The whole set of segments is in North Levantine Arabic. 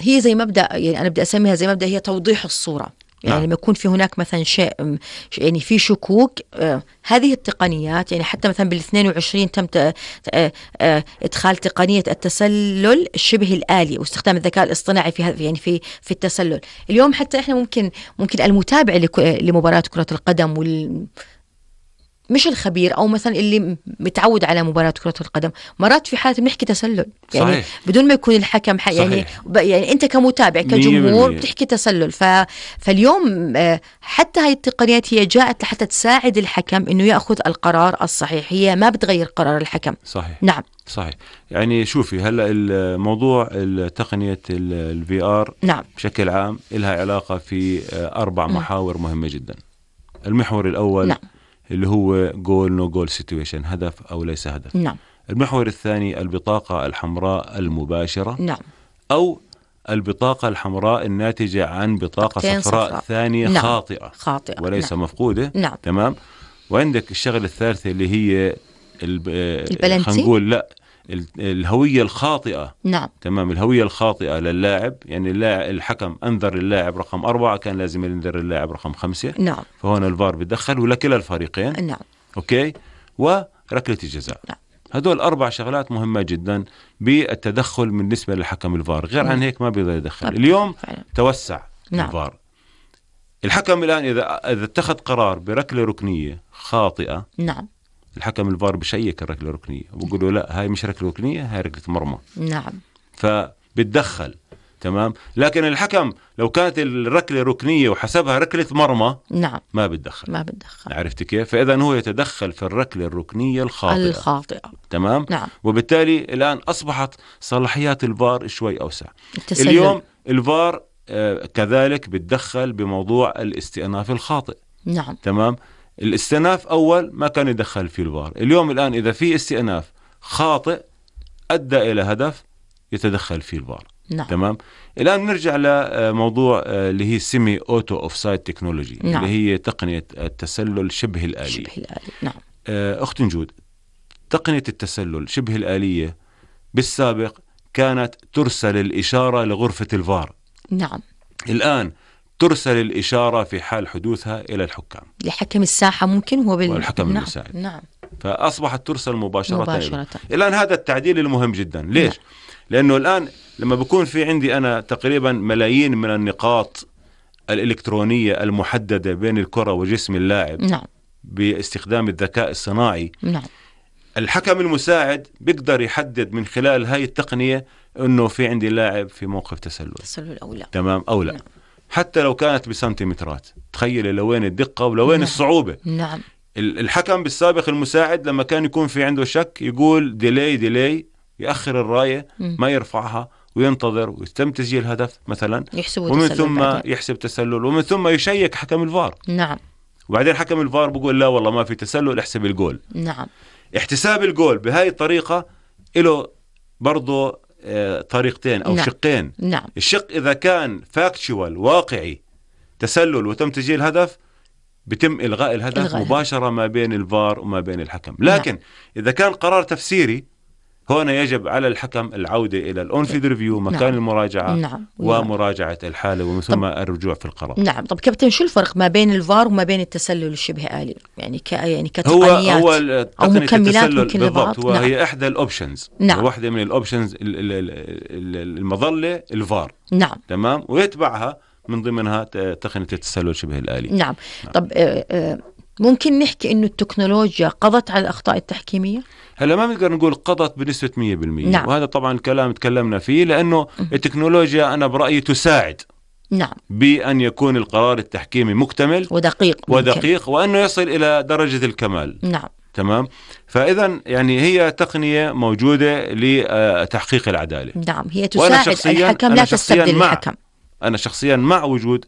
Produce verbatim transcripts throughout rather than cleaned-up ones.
هي زي مبدأ، يعني أنا بدي أسميها زي مبدأ هي توضيح الصورة. يعني نعم. لما يكون في هناك مثلا شيء يعني في شكوك، آه هذه التقنيات، يعني حتى مثلا بالاثنين وعشرين تم ت- آه آه إدخال تقنية التسلل الشبه الآلي واستخدام الذكاء الاصطناعي في هذا، يعني في في التسلل. اليوم حتى إحنا ممكن ممكن المتابع لك- لمباراة كرة القدم وال مش الخبير أو مثلا اللي متعود على مباراة كرة القدم، مرات في حالة بنحكي تسلل، يعني صحيح. بدون ما يكون الحكم ح- يعني صحيح. ب- يعني أنت كمتابع مية كجمهور بالمية. بتحكي تسلل. ف... فاليوم آه، حتى هاي التقنيات هي جاءت لحتى تساعد الحكم إنه يأخذ القرار الصحيح، هي ما بتغير قرار الحكم. صحيح. نعم. صحيح. يعني شوفي هلا الموضوع تقنية الفي آر نعم. بشكل عام لها علاقة في أربع م. محاور مهمة جدا. المحور الأول نعم. اللي هو جول نو جول سيتويشن، هدف أو ليس هدف. نعم. المحور الثاني البطاقة الحمراء المباشرة، نعم. أو البطاقة الحمراء الناتجة عن بطاقة بطاقتين صفراء صفراء. ثانية نعم. خاطئة خاطئة وليس نعم. مفقودة. نعم. تمام. وعندك الشغلة الثالثة اللي هي البلنتي. خلينا نقول لا ال- الهوية الخاطئة. نعم. تمام. الهوية الخاطئة للاعب، يعني اللاعب الحكم أنذر اللاعب رقم أربعة، كان لازم ينذر اللاعب رقم خمسة. نعم. فهون الفار بيدخل ولكلا الفريقين. نعم. أوكي. وركلة الجزاء. نعم. هدول أربع شغلات مهمة جدا بالتدخل بالنسبة للحكم الفار، غير عن هيك ما بيقدر يدخل. اليوم فعلا. توسع نعم. الفار. الحكم الآن إذا إذا اتخذ قرار بركلة ركنية خاطئة، نعم. الحكم الفار بشيك الركلة الركنية وبقول له لا هاي مش ركلة ركنية، هاي ركلة مرمى. نعم. فبتدخل. تمام. لكن الحكم لو كانت الركلة ركنية وحسبها ركلة مرمى، نعم. ما بتدخل. ما بتدخل. عرفت كيف؟ فإذا هو يتدخل في الركلة الركنية الخاطئة. الخاطئة. تمام. نعم. وبالتالي الآن أصبحت صلاحيات الفار شوي أوسع. التسلل. اليوم الفار آه كذلك بتدخل بموضوع الاستئناف الخاطئ. نعم. تمام. الاستئناف أول ما كان يدخل فيه الفار، اليوم الآن إذا في استئناف خاطئ أدى إلى هدف يتدخل فيه الفار. نعم. تمام. الآن نرجع لموضوع اللي هي سيمي أوتو أوفسايد تكنولوجي. نعم. اللي هي تقنية التسلل شبه الآلي. شبه الآلي. نعم. أخت نجود، تقنية التسلل شبه الآلية بالسابق كانت ترسل الإشارة لغرفة الفار. نعم. الآن ترسل الإشارة في حال حدوثها إلى الحكام، لحكم الساحة ممكن هو بال... والحكم نعم. المساعد. نعم. فأصبحت ترسل مباشرة, مباشرة. الآن هذا التعديل المهم جدا. ليش؟ نعم. لأنه الآن لما بكون في عندي أنا تقريبا ملايين من النقاط الإلكترونية المحددة بين الكرة وجسم اللاعب. نعم. باستخدام الذكاء الصناعي. نعم. الحكم المساعد بيقدر يحدد من خلال هاي التقنية إنه في عندي لاعب في موقف تسلل. تسلل أو لا. تمام أو لا. نعم. حتى لو كانت بسنتيمترات. تخيل لوين الدقة ولوين نعم. الصعوبة. نعم. الحكم بالسابق المساعد لما كان يكون في عنده شك يقول ديلي ديلي، يأخر الراية م. ما يرفعها وينتظر ويتم تسجيل هدف مثلا، ومن ثم بعدين. يحسب تسلل، ومن ثم يشيك حكم الفار. نعم. وبعدين حكم الفار بقول لا والله ما في تسلل، احسب الجول. نعم. احتساب الجول بهاي الطريقة له برضو اه طريقتين أو نعم. شقين. نعم. الشق إذا كان فاكتشوال واقعي تسلل وتم تسجيل هدف، بتم إلغاء الهدف إلغاء مباشرة ما بين الفار وما بين الحكم. لكن نعم. إذا كان قرار تفسيري، هنا يجب على الحكم العودة إلى الأونفيد ريفيو، مكان نعم. المراجعة نعم. ومراجعة الحالة ومن ثم الرجوع في القرار. نعم. طب كابتن، شو الفرق ما بين الفار وما بين التسلل الشبه آلي؟ يعني ك يعني كتقنيات هو هو أو مكملات ممكن بالضبط. هو نعم. هي إحدى الأوبشنز. نعم. واحدة من الأوبشنز المظلة الفار. نعم. تمام. ويتبعها من ضمنها تقنية التسلل شبه الآلي. نعم. نعم. طب آه آه ممكن نحكي إنه التكنولوجيا قضت على الأخطاء التحكيمية؟ هلا ما بنقدر نقول قضت بنسبة مية بالمية. نعم. وهذا طبعا الكلام تكلمنا فيه، لأنه التكنولوجيا أنا برأيي تساعد نعم. بأن يكون القرار التحكيمي مكتمل ودقيق ودقيق وأنه يصل إلى درجة الكمال. نعم. تمام. فإذا يعني هي تقنية موجودة لتحقيق العدالة. نعم. هي تساعد الحكم لا تستبدل الحكم. أنا شخصيا مع وجود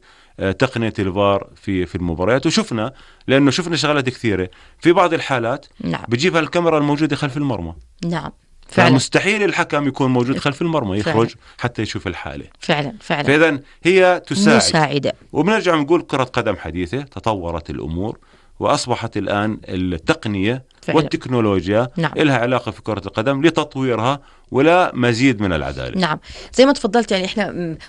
تقنية الفار في في المباريات، وشفنا لأنه شفنا شغلات كثيرة في بعض الحالات. نعم. بجيبها الكاميرا الموجودة خلف المرمى. نعم. فعلا. مستحيل الحكم يكون موجود خلف المرمى يخرج فعلا. حتى يشوف الحالة. فعلا فعلا. فإذا هي تساعد. مساعدة. وبنرجع نقول كرة قدم حديثة تطورت الأمور وأصبحت الآن التقنية فعلا. والتكنولوجيا نعم. لها علاقة في كرة القدم لتطويرها ولا مزيد من العدالة. نعم، زي ما تفضلت يعني إحنا